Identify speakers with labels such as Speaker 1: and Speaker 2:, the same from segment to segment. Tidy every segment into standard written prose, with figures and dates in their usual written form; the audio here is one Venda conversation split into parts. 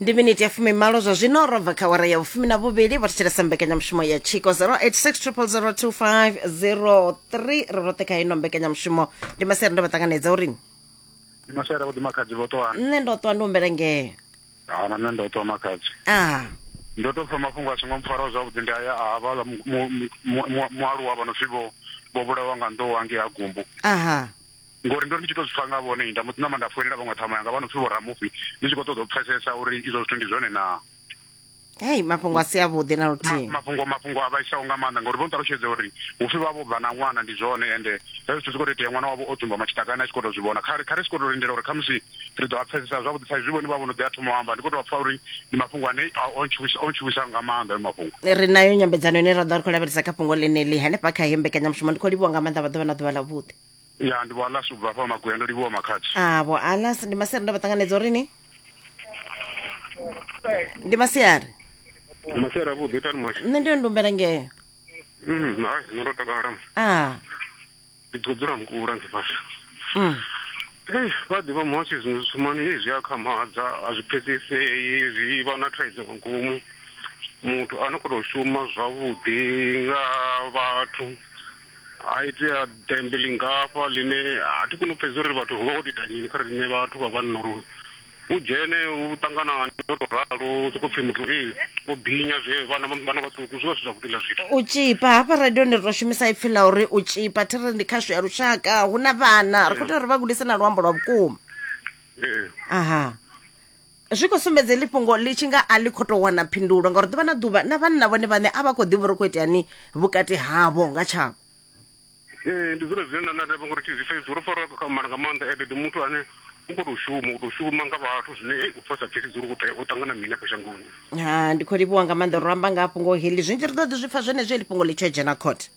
Speaker 1: Ndi miniti ya 20 zwa zwino ro bva kha wara ya vhufumi na vhuvhili. Vho thetshelesa mbekanyamushumo ya Tshiko 086 0002503. Ri roṱhe kha ino mbekanyamushumo. Ndi masiari, ndo vha ṱanganedza uri
Speaker 2: Ndi masiari avhuḓi, makhadzi. Vho ṱwa?
Speaker 1: Nṋe ndo ṱwa, ndi humbela ngeo.
Speaker 2: Ha, na nṋe ndo ṱwa, makhadzi.
Speaker 1: A
Speaker 2: Ndo to pfa mafhungo a songo mpfaraho zwavhuḓi, ndi aya a havhaḽa mualuwa vha no pfi vho vhulawa nga nḓou hangei ha Gumbu. Ngori ndo ri ndi tshi to zwi pfa nga vhone, nda mbo ḓi ṋama nda foinela vhaṅwe ṱhama yanga vha no pfi vho Ramufi, ndi tshi khou ṱoḓa u pfesesa uri izwo zwithu ndi zwone naa.
Speaker 1: Hei, mafhungo a si avhuḓi na luthihi.
Speaker 2: Mafhungo a vhaisaho nga maanḓa, ngauri vho nṱalutshedza uri hupfi vha vho bva na ṅwana, ndi zwone, ende hezwi zwithu zwi khou tou itea ṅwana wavho o dzumbama tshiṱakani a tshi khou tou zwi vhona. Kha ri sokou tou lindela uri khamusi ri ḓo a pfesesa zwavhuḓi sa izwi vhone vha vho no ḓi a thoma u amba. Ndi khou tou pfa uri ndi mafhungo ane o ntshuwisa nga maanḓa hayo mafhungo.
Speaker 1: Ri nayo nyambedzano ine ra ḓo ri khou lavhelesa kha fhungo ḽeneḽi hanefha kha heyi mbekanyamushumo. Ndi khou livhuwa nga maanḓa, vha ḓuvha na ḓuvha ḽavhuḓi.
Speaker 2: Ya, ndi vho Alas u bva hafha Maguya, ndo livhuwa, makhadzi.
Speaker 1: A vho Alas, ndi masiari, ndo vha ṱanganedza uri ni ndi masiari.
Speaker 2: Masiari avhuḓi, itani muhasho.
Speaker 1: Nṋe ndi ndumbela ngeo.
Speaker 2: Hai, nṋe ndo takala. Ndi khou dzula mukula ndi fhasi. Ei, vha ḓivha muhasho, zwiṅwe zwithu mani hei zwi a khamadza, a zwi pfesesei, zwi vha na thaidzo nga ngomu. Muthu a no khou tou shuma zwavhuḓi nga vhathu, a itea ḓembe lingafha ḽine a thi koni u pfesesa uri vhathu hu vha ho tou ita mini kha riṋe vhathu vha vhanna, uri u dzhene u ṱangana no tou ralo, sokou pfhi muthu ee o binya zwe vhana vhana vhaṱuku, zwi vha zwi zwavhuḓi ḽa zwithu.
Speaker 1: U tshipa hafha radioni ri tou shumisa ipfi ḽa uri u tshipa, thi ri ndi khasho ya lushaka, hu na vhana ri khou tea uri vha gudise na luambo lwa vhukuma. Aha, zwi khou sumbedza heḽi fhungo ḽi tshi nga a ḽi khou tou wana phindulo, ngauri ḓuvha na ḓuvha na vhanna vhone vhaṋe a vha khou ḓivha uri khou iteani vhukati havho nga tshavho.
Speaker 2: Ee, ndi zwone zwine nda nda ngori thi zwi pfesesi, ro farwa kha mara nga maanḓa, ende ndi muthu ane u khou tou shuma, u tou shuma nga vhathu, zwine ei u pfa sa pfesesi uri u tea u ṱangana mini afha shangoni.
Speaker 1: Ha, ndi khou livhuwa nga maanḓa. Ro amba nga ha fhungo heḽi zwinzhi, ri ḓo ḓi zwi pfa zwenezwo heḽi fhungo ḽi tshi yo dzhena court.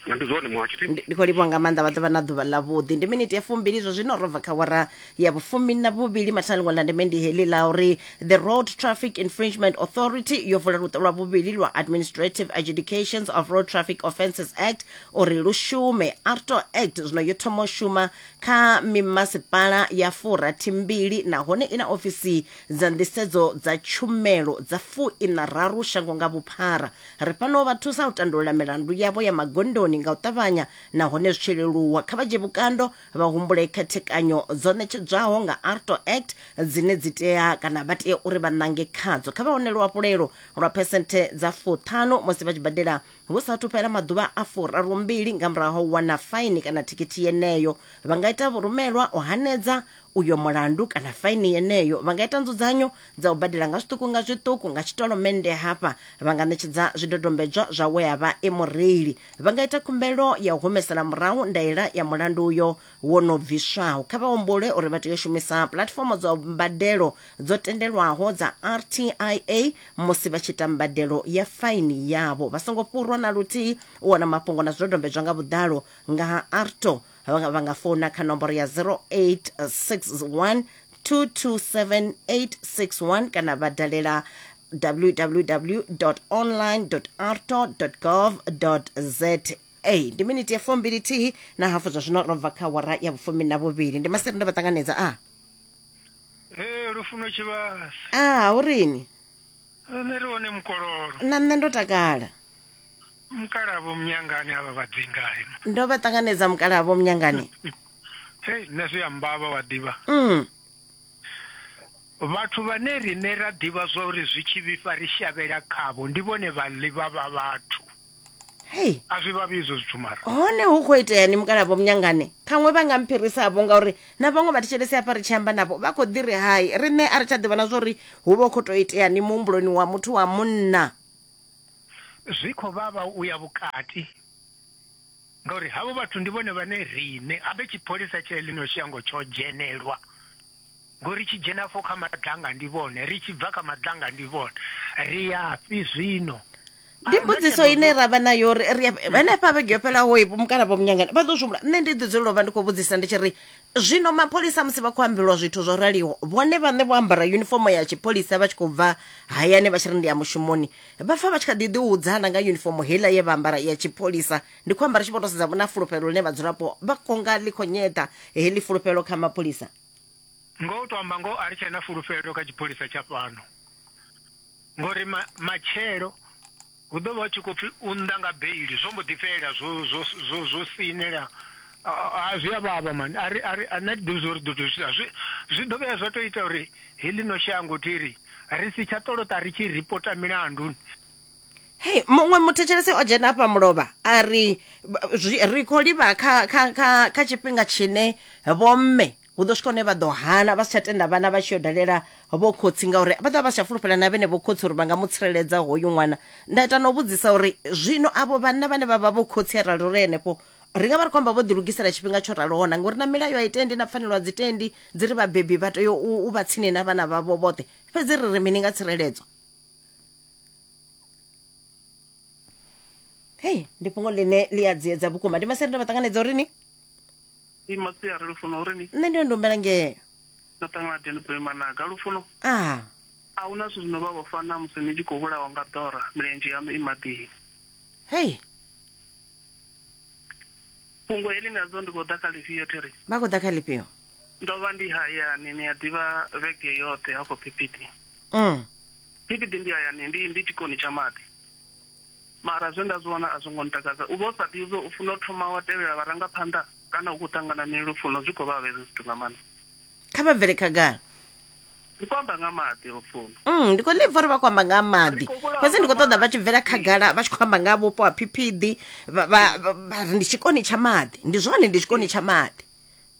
Speaker 2: Ndi zwone muhasho thi.
Speaker 1: Ndi khou livhuwa nga maanḓa, vha ḓo vha na ḓuvha ḽavhuḓi. Ndi miniti ya 20 zwa zwino ro bva kha wara ya vhufumi na vhuvhili. Mathina ḽiṅwe ḽa ndeme ndi heḽi ḽa uri the Road Traffic Infringement Authority yo vula luṱo lwa vhuvhili lwa Administrative Adjudications of Road Traffic Offences Act uri lu shume. ARTO Act zwino yo thoma u shuma kha mimasipala ya 62 nahone i na ofisi dza nḓisedzo dza tshumelo dza 63 shango nga vhuphara. Ri fhano u vha thusa u tandulula milandu yavho ya magondoni nga u ṱavhanya nahone zwi tshi leluwa. Kha vha dzhie vhukando vha humbule khethekanyo dzo ṋetshedzwaho nga ARTO Act dzine dzi tea kana vha tea uri vha ṋange khadzo. Kha vha wane luhafhulelo lwa phesenthe dza 50 musi vha tshi badela hu sa athu fhela maḓuvha a 32 nga murahu ha u wana faini kana thikhithi yeneyo. Vha nga ita vhurumelwa u hanedza uyo mulandu kana faini yeneyo. Vha nga ita nzudzanyo dza u badela nga zwiṱuku nga zwiṱuku nga tshitolomennde. Hafha vha nga ṋetshedza zwidodombedzwa zwa we a vha e mureili. Vha nga ita khumbelo ya u humesela murahu ndaela ya mulandu uyo wo no bviswaho. Kha vha humbule uri vha tea u shumisa puḽatifomo dza mbadelo dzo tendelwaho dza RTIA musi vha tshi ita mbadelo ya faini yavho. Vha songo fhurwa na luthihi. U wana mafhungo na zwidodombedzwa nga vhuḓalo nga ha ARTO, vha nga founa kha nomboro ya 0861 227 861 kana vha dalela www online arto gov za. Ndi miniti ya 21 na hafu zwa zwino ro bva kha wara ya vhufumi na vhuvhili. Ndi maseri, ndo vha ṱanganedza. A
Speaker 3: Ee, Lufuno Tshivhasa.
Speaker 1: A urini?
Speaker 3: Nṋe ri hone, mukololo.
Speaker 1: Na nṋe ndo takala.
Speaker 3: Mukalavho Munyangani avha vhadzingai.
Speaker 1: Ndo vha ṱanganedza, mukalavho Munyangani.
Speaker 3: Hei, nṋe zwi a mbavha wa ḓivha. Vhathu vhane riṋe ra ḓivha zwa uri zwi tshi vhifha ri shavhela khavho ndi vhone vhaḽi vha vha vhathu.
Speaker 1: Hei.
Speaker 3: A zwi vhavhi izwo zwithu mara.
Speaker 1: Hone hu khou itea ni, mukalavho Munyangani? Ṱhaṅwe vha nga mphirisa-vho, ngauri na vhaṅwe vhathetshelesi hafha ri tshi amba navho vha khou ḓi ri hai, riṋe a ri tsha ḓivha na zwa uri hu vha hu khou tou itea ni muhumbuloni wa muthu wa munna.
Speaker 3: Zwi khou vhavha u ya vhukati ngauri havho vhathu ndi vhone vhane riṋe habe tshipholisa tsha ḽino shango tsho dzhenelwa, ngori tshi dzhena afho kha madlanga ndi vhone, ri tshi bva kha madlanga ndi vhone, ri yafhi zwino?
Speaker 1: Ndi mbudziso ine ra vha nayo uri ri henefha vhege yo fhelaho i mukala vho Munyangani vha ḓo zwi humbula. Nṋe ndi ḓi dzulela u vha ndi khou vhudzisa ndi tshi ri zwino mapholisa musi vha khou ambelwa zwithu zwo raliho, vhone vhaṋe vho ambara yunifomo ya tshipholisa vha tshi khou bva hayani vha tshi ri ndi ya mushumoni, vha pfa vha tshi kha ḓi ḓiudza na nga yunifomo heiḽa ye vha ambara ya tshipholisa? Ndi khou amba ri tshi vho tou sedza na fulufhelo ḽine vhadzulapo vha khou nga ḽi khou nyeṱa heḽi fulufhelo kha mapholisa.
Speaker 3: Ngoho u tou amba ngoho, a ri tshena fulufhelo kha tshipholisa tsha fhano. Ngori matshelo hu ḓo vha hu tshi khou pfi u nnḓa nga beili zwo mbo ḓi fhela zwo zwo zwo zwo sinela a zwi a vhavha mani a ri a ri a nṋe thi ḓivhi zwa uri ḓo tou zwi zwi zwi ḓo vhuya zwa tou ita uri heḽino shango thi ri ri si tsha ṱolota ri tshi ripota milandu.
Speaker 1: Hei, muṅwe muthetshelesi o dzhena afha mulovha a ri ri khou livha kha kha kha kha tshifhinga tshine vhomme hu ḓo swika hune vha ḓo hana vha si tsha tenda vhana vha tshi yo dalela vho khotsi ngauri vha ḓo vha vha si tsha fulufhela na vhene vho khotsi uri vha nga mu tsireledza hoyu ṅwana. Nda ita na u vhudzisa uri zwino avho vhanna vhane vha vha vho khotsi arali uri henefho ri nga vha ri khou amba vho ḓilugisela tshifhinga tsho raloho na ngori na milayo a i tendi na pfanelo a dzi tendi dzi ri vhabebi vha tea u vha tsini na vhana vhavho vhoṱhe fhedzi ri ri mini nga tsireledzo. Hei ndi fhungo ḽine ḽi a dziedza vhukuma ndi maseri ndo vha ṱanganedza uri ni
Speaker 2: I masiari lufuno uri ni
Speaker 1: nṋe ndi ndo humbela ngeo
Speaker 2: ndo ṱangana Deni Boy Managa lufuno
Speaker 1: a
Speaker 2: a huna zwithu zwino vha vho fana musi ni tshi khou vhulawa nga ḓora milenzhe yaṋu i maḓini.
Speaker 1: Hei
Speaker 2: Fhungo heḽi nga dzo ndi khou ḓa kha ḽifhio thiri?
Speaker 1: Vha khou ḓa kha ḽifhio?
Speaker 2: Ndo vha ndi hayani ni a ḓivha vhege yoṱhe hafho Phiphiḓi. Phiphiḓi ndi hayani ndi ndi tshikoni tsha maḓi. Mara zwe nda zwi wana a zwo ngo ntakadza. U vha u sa ḓivhi u funa u thoma wa tevhela vharangaphanḓa kana u khou ṱangana mini lufuno zwi khou vhavha hezwi zwithu nga maanḓa.
Speaker 1: Kha vha bvele khagala.
Speaker 2: Ndi khou amba nga maḓi lufuno.
Speaker 1: Ndi khou ḽi pfa uri vha khou amba nga ha maḓi fhedzi ndi khou ṱoḓa vha tshi bvela khagala vha tshi khou amba nga ha vhupo ha Phiphiḓi vha vha vha ri ndi tshikoni tsha maḓi. Ndi zwone ndi tshikoni tsha maḓi.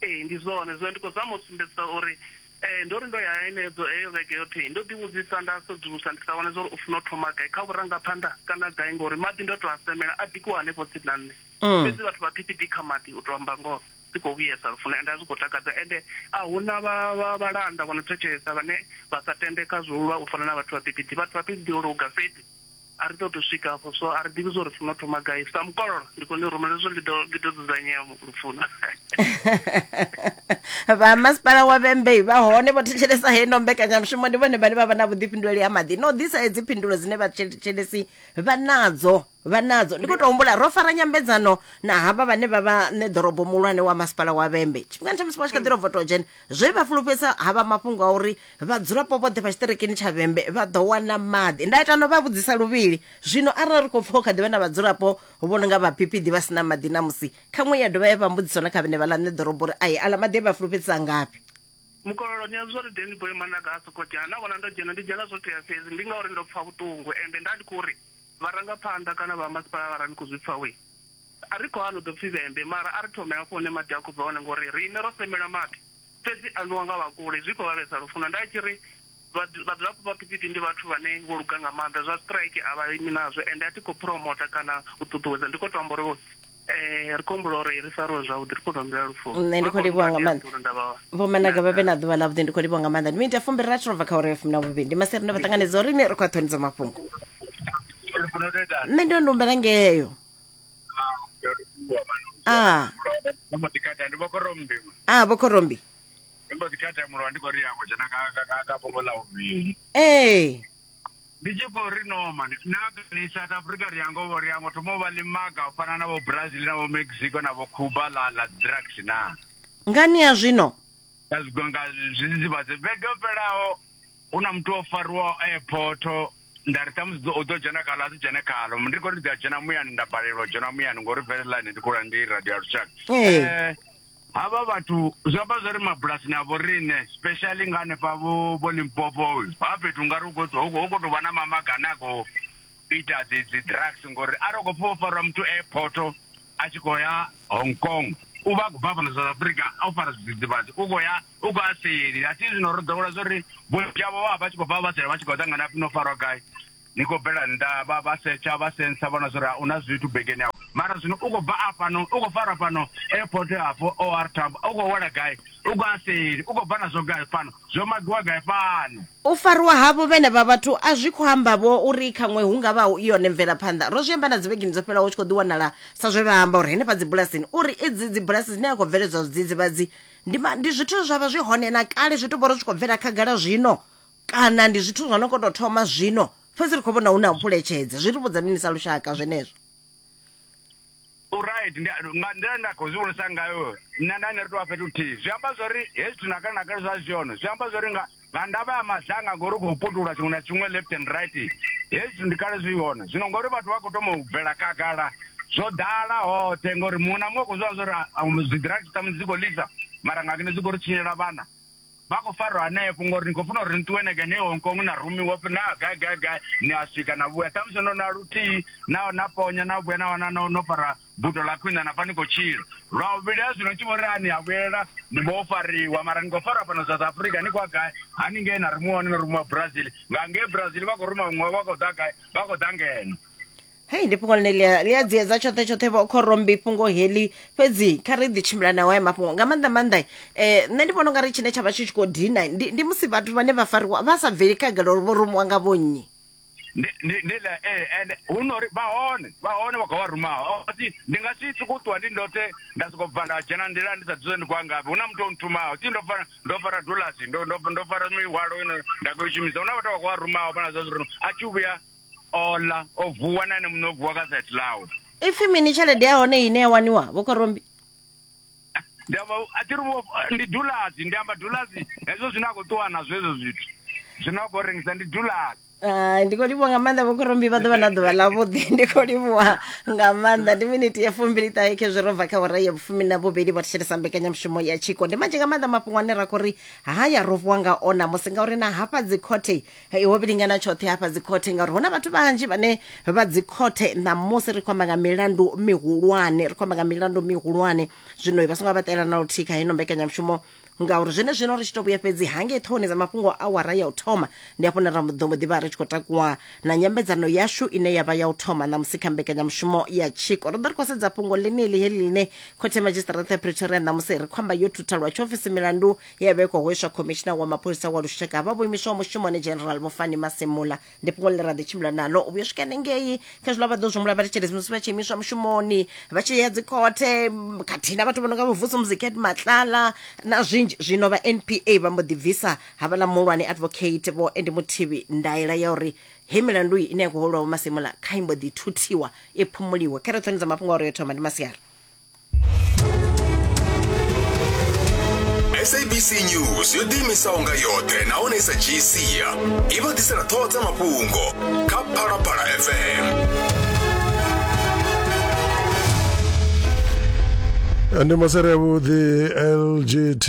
Speaker 2: Ee ndi zwone zwino ndi khou zama u sumbedzisa uri eh, ndo ri ndo ya henedzo heyo vhege yoṱhe ndo ḓi vhudzisa nda sedzulusa ndi sa wane zwa uri u funa u thoma gai kha vhurangaphanḓa kana gai ngori maḓi ndo to a semela a bikiwa hanefho tsini na nṋe fhedzi vhathu vha phiphiḓi kha maḓi u to amba ngoho zwi khou vhuyesa lufuno ende a zwi khou takadza ende a huna vha vhalanda vho no thetshelesa vhane vha sa tende kha zwulwa u fana na vhathu vha phiphiḓi vhathu vha phiphiḓi o luga fhedzi A ri ṱoḓi u swika afho, so a ri ḓivhi zwa uri funa u thoma gai. Sa mukololo, ndi khou ni rumela hezwo ndi ḓo ndi ḓo dzudzanyea lufuno.
Speaker 1: Vha masipala wa Vhembe vha hone vho thetshelesa heino mbekanyamushumo ndi vhone vhane vha vha na vhuḓifhinduleli ha maḓi no ḓisa hedzi phindulo dzine vhathetshelesi vha nadzo vha nadzo ndi khou tou humbula ro fara nyambedzano na havha vhane vha vha ṋe ḓorobo muhulwane wa masipala wa Vhembe tshifhingani tsha musi vha tshi kha ḓi ro voto dzhena zwe vha fulufhedzisa havha mafhungo a uri vhadzulapo vhoṱhe vha tshiṱirikini tsha Vhembe vha ḓo wana maḓi. Nda ita no vha vhudzisa luvhili zwino arali ri khou pfa hu kha ḓi vha na vhadzulapo vho no nga vha Phiphiḓi vha si na maḓi namusi khaṅwe ya dovha ya vha mbudziso na kha vhene vhaḽa ṋe ḓorobo uri ai aḽa maḓi e vha fulufhedzisa ngafhi.
Speaker 2: Mukololo, ni a zwi uri Danny Boy Managa ha soko dzhena, na vhona ndo dzhena ndi dzhena zwo tea fhedzi ndi ngauri ndo pfa vhuṱungu ende nda ndi khou ri vharangaphanḓa kana vha masipala vha ra ni khou zwi pfa wee a ri khou hana u ḓo pfi Vhembe mara a ri thome hafho hune maḓi a khou bva hone ngori riṋe ro semela maḓi fhedzi a nwiwa nga vha kule zwi khou vhavhesa lufuno. Nda tshi ri vhadzulapo vha Phiphiḓi ndi vhathu vhane vho luga nga maanḓa, zwa strike a vha imi nazwo ende a thi khou promota kana u ṱuṱuwedza ndi khou tou amba uri ri khou humbula uri ri fariwe zwavhuḓi ri khou tou humbela lufuno.
Speaker 1: Nṋe ndi khou livhuwa nga maanḓa vho Managa vha vhe na ḓuvha ḽavhuḓi ndi khou livhuwa nga maanḓa ndi miniti ya fumbili rathi robva kha uri ya fumi na vhuvhili ndi maseri ndo vha ṱanganedza uri ni ri khou a ṱhoni dza mafhungo nṋe ndi ndo humbela ngeyo a
Speaker 4: ndo mbo ḓi kata ndi vho khorombi
Speaker 1: a vho khorombi
Speaker 4: ndi mbo ḓi kata mulovha ndi khou ri yango dzhena ka fhungo ḽa vhuvhili
Speaker 1: ee
Speaker 4: ndi tshi khou ri no mani na ni South Africa ri yango ri yango thoma u vha ḽimaga u fana na vho Brazil na vho Mexico na vho Cuba ḽa ḽa drugs na
Speaker 1: ngani ya zwino
Speaker 4: nga nga zwidzidzivhadzi vhege yo fhelaho hu na muthu o fariwaho airport nda ri ṱhamusi u ḓo dzhena khaḽo a si dzhene khaḽo ndi khou ri ndi ḓo dzhena muyani nda balelwa u dzhena muyani ngori vele line ndi khou ndi radio ya lushaka
Speaker 1: um
Speaker 4: havha vhathu zwi amba zwa uri mabulasini a vho riṋe specially nga hanefha vho vho Limpopo ha fhethu ungari hu khou tou vha na mamaga ane a khou ita dzi dzi drugs ngori arali u khou pfha wo farwa muthu airport a tshi khou ya Hong Kong u vha a khou bva fhano South Africa o fara zwidzidzivhadzi u khou ya u khou ya seli a thi zwino ro ḓowela zwa uri vhunzhi havho vha vha tshi khou bva vha seli vha tshi khou ṱangana hapfi no farwa gai ni khou bvela nnḓa vha vha setsha vha sensa vhona zwa uri u na zwithu begeni yawe mara zwino u khou bva afhano u khou farwa fhano airport hafho OR Tambo u khou wela gai u khou ya seli u khou bva nazwo gai fhano zwo magiwa gai fhano
Speaker 1: U farwa havho vhenevha vhathu a zwi khou amba vho uri khaṅwe hu nga vha hu yone mvelaphanḓa. Ro zwi amba na dzivhegeni dzo fhelaho hu tshi khou ḓi wanala sa zwe vha amba uri henefha dzibulasini uri idzi dzibulasi dzine ha khou bveledzwa zwidzidzivhadzi ndi, ndi zwithu zwa vha zwi hone na kale zwi tou vha uri zwi khou bvela khagala zwino kana ndi zwithu zwa no khou tou thoma zwino fhedzi ri khou vhona hu na u phuletshedza. Zwi ri vhudza mini sa lushaka zwenezwo?
Speaker 4: U right ndi nga nḓila nda khou zwi vhonisa ngayo nṋe nda ne ri tou vha fhethu huthihi zwi amba zwori hezwi zwithu na kale na kale zwa zwi hone zwi amba zwori nga Nga ndavha ya madzanga ngori u khou putula tshiṅwe na tshiṅwe left and right, hezwi zwithu ndi kale zwi hone. Zwino ngori vhathu vha khou thoma u bvela khagala, zwo ḓala hoṱhe ngori muṅwe na muṅwe u khou zwi vhona zwa uri dzi drugs ṱhamusi dzi khou ḽisa mara nga ngeno dzi khou ri tshinyela vhana. Vha khou farwa hanefho ngori ni khou funa uri ni ṱuwe na ngei Hong Kong na rumiwa upfi na gai gai gai ni a swika na vhuya ṱhamusi no na luthihi na na ponya na vhuya na wana no no fara buto ḽa khwine na pfa ni khou tshila. Lwa vhuvhili ha zwino tshi vho ri a ni a vhuyelela ni vho fariwa mara ni khou farwa fhano South Africa ni khou ya gai haningei na rumiwa hone no rumiwa Brazil nga ngei Brazil vha khou ruma vhuṅwe vha khou ḓa gai vha khou ḓa ngeno.
Speaker 1: Hei ndi fhungo ḽine ḽia ḽi a dziedza tshoṱhe tshoṱhe vho khorombi fhungo heḽi fhedzi kha ri ḓi tshimbila nawo haya mafhungo nga maanḓa maanḓa eh nṋe ndi vhona ungari tshine tsha vha tshi tshi khou dina ndi, ndi musi vhathu vhane vha fariwa vha sa bveli khagala uri vho rumiwa nga vhonnyi
Speaker 4: ndi ndi ndi ḽa ee ende hu no uri vha hone vha hone vha khou vha rumaho thi ndi nga si sokou ṱuwa ndi ndoṱhe nda sokou bva nda dzhena nḓila ndi sa ḓivhi ndi khou ya ngafhi hu na muthu o nthumaho thi ndo fara ndo fara dulasi ndo ndo ndo fara mihwalo ine nda khou i shumisa hu na vhathu vha khou vha rumaho vha na zwa uri a tshi vhuya ola o vuwa na ene muṋe o vuwa kha side ḽawe
Speaker 1: ipfi mini tshelede ya hone ine ya waniwa vho khorombi
Speaker 4: ndi amba a thi ri ndi dulasi ndi amba dulasi hezwo zwine a khou ṱuwa nazwo hezwo zwithu zwine a khou rengisa ndi dulasi
Speaker 1: Ah, ndi khou livhuwa nga maanḓa vhokhorombi vha ḓuvha na ḓuvha ḽavhuḓi ndi khou livhuwa nga maanḓa ndi miniti ya fumbili ṱahe khezwi ro bva kha wara ya vhufumi na vhuvhili vho thetshelesa mbekanyamushumo ya tshiko ndi manzhi nga maanḓa mafhungo ane ra khou ri haya ro vuwa nga ona musi ngauri na hafha dzikhothe ho vhilingana tshoṱhe hafha dzikhothe ngauri hu na vhathu vhanzhi vhane vha dzikhothe ṋamusi ri khou amba nga milandu mihulwane ri khou amba nga milandu mihulwane zwino vha songo vha ṱela na luthihi kha hino mbekanyamushumo ngauri zwenezwino ri tshi to vhuya fhedzi hangei ṱhohoni dza mafhungo awara ya u thoma ndi hafho hune ra ḓo mbo ḓi vha ri tshi khou takuwa na nyambedzano yashu ine ya vha ya u thoma ṋamusi kha mbekanyamushumo ya tshiko ri ḓo ri khou sedza fhungo ḽeneḽi heḽi ḽine khothe ya madzhisiṱiraṱa ya pretoria ṋamusi ri khou amba yo thutha lwa tshiofisi milandu ye ya vha i khou hweswa khomishina wa mapholisa wa lushaka vha vho imiswaho mushumoni general vho fani masemula Ndi fhungo ḽine ra ḓi tshimbila naḽo u vhuya u swika hanengei kha zwiḽa vha ḓo zwi humbula vhathetshelesi musi vha tshi imiswa mushumoni vha tshi ya dzikhothe khathihi na vhathu vho no nga vho Vusumuzi Cat Matlala na zwinzhi. Zwino vha NPA vha mbo ḓi bvisa havhaḽa muhulwane advocate Vho Andy Muthibi ndaela ya uri hei milandu iyi ine ya khou hwelwa Vho Masemola kha i mbo ḓi thuthiwa i phumuliwe. Kha ri ṱhoni dza mafhungo a uri yo thoma ndi masiari.
Speaker 5: Sabc News yo ḓiimisaho nga yoṱhe nahone i sa dzhii sia i vha ḓisela ṱhoho dza mafhungo kha Phalaphala FM.
Speaker 6: Ndi masere avhuḓi LGT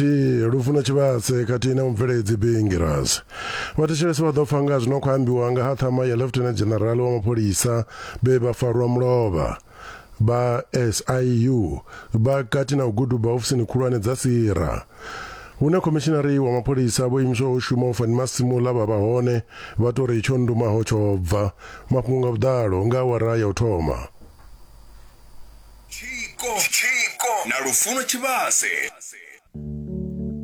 Speaker 6: Lufuno Tshivhase khathihi na mubveledzi Bingiras. Vhathetshelesi vha ḓo pfa nga zwino khou ambiwa nga ha ṱhama ya Lieutenant General wa mapholisa vhe vha farwa mulovha. Vha SIU vha kati na u guduba ofisini khulwane dza Sira. Hune khomishinari wa mapholisa vho imiswaho u shuma u Fannie Masemola vha vha hone, vha tou ri tsho ndumaho tsho bva. Mafhungo nga vhuḓalo nga awara ya u thoma.
Speaker 5: Tshiko na Lufuno Tshivhase.